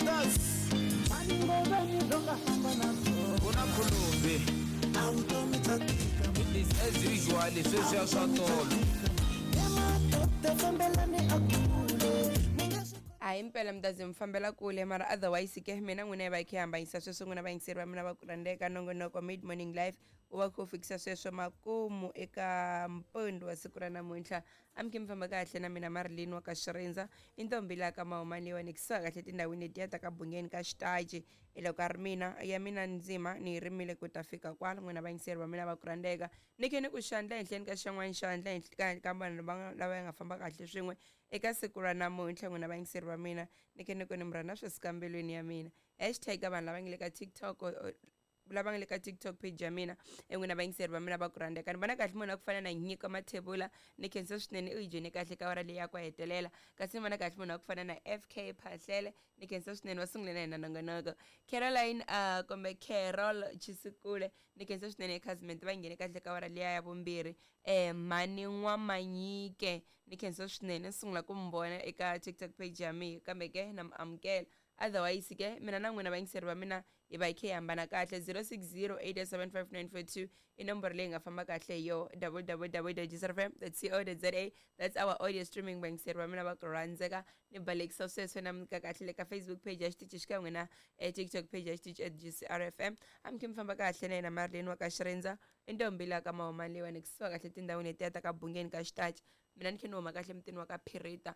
Brothers. Kuna khulumbi. It is as usual sweswiya swa tolo. A hi mpela mi ta ze mi fambela kule mara otherwise ke mina n'wina hi va hi kha hi hambanyisa sweswo n'wina vayingiseri va mina va ku rhandzeka nongonoko mid morning live wu va kha wu fikisa sweswo makumu eka mpundzu wa siku ra namuntlha. A mi khe mi famba kahle na mina Marilyn wa ka Xirindza i ntombi laha ka Mahumani leyiwani kusuhi kahle tindhawini letiya ta ka Bungeni ka Xitaji. Hi loko a ri mina ya mina ndzima ni yi rimile ku ta fika kwala n'wina vayingiseri va mina va ku rhandzeka. Ni khe ni ku xandla ehenhleni ka xin'wana xandla ehenhla ka ka vanhu va lava nga famba kahle swin'we eka siku ra namuntlha n'wina vayingiseri va mina ni khe ni ku ni mi rhandza swi suka mbilwini ya mina. Hashtag ka vanhu lava nga le ka TikTok lava nga le ka TikTok page ya mina e n'wina vayingiseri va mina va ku rhandzeka. Ni vona kahle munhu wa ku fana na Nyiko Mathebula ni khensa swinene u yi joyine kahle ka awara leyi ya ku hetelela. Kasi ni vona kahle munhu wa ku fana na FK Phahlele ni khensa swinene va sungule na yena nongonoko. Caroline kumbe Carol Chisikule ni khensa swinene Khazimende va nghene kahle ka awara liya ya vumbirhi. Mhani N'wamanyike ni khensa swinene ni sungula ku mi vona eka TikTok page ya mina kambe ke na mi amukela. Otherwise ke mina na n'wina vayingiseri va mina hi va hi khe hi hambana kahle. 0608755942 i nomboro leyi nga famba kahle hi yo www.gcrfm.co.za. That's our audio streaming vayingiseri va mina va ku rhandzeka. Ni balekisa sweswo na mi nyika kahle le ka Facebook page ya xitichi xikan'we na TikTok page ya xitichi at GCRFM. A mi khe mi famba kahle na yena Marilyn wa ka Xirindza i ntombi laha ka Mahumani leyiwani kusuhi kahle tindhawini letiya ta ka Bungeni ka Xitaji. Mina ni khe ni huma kahle mutini wa ka Phirita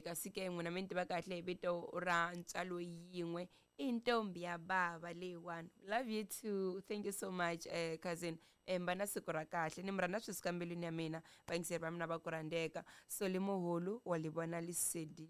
kasi ke n'wina mi ni tiva kahle hi vito ra ntswalo yin'we i ntombi ya bava leyiwani. Love you too, thank you so much cousin. Mi va na siku ra kahle ni mi rhandza swi suka mbilwini ya mina vayingiseri va mina va ku rhandzeka. Soli Muhulu wa li vona lesedi.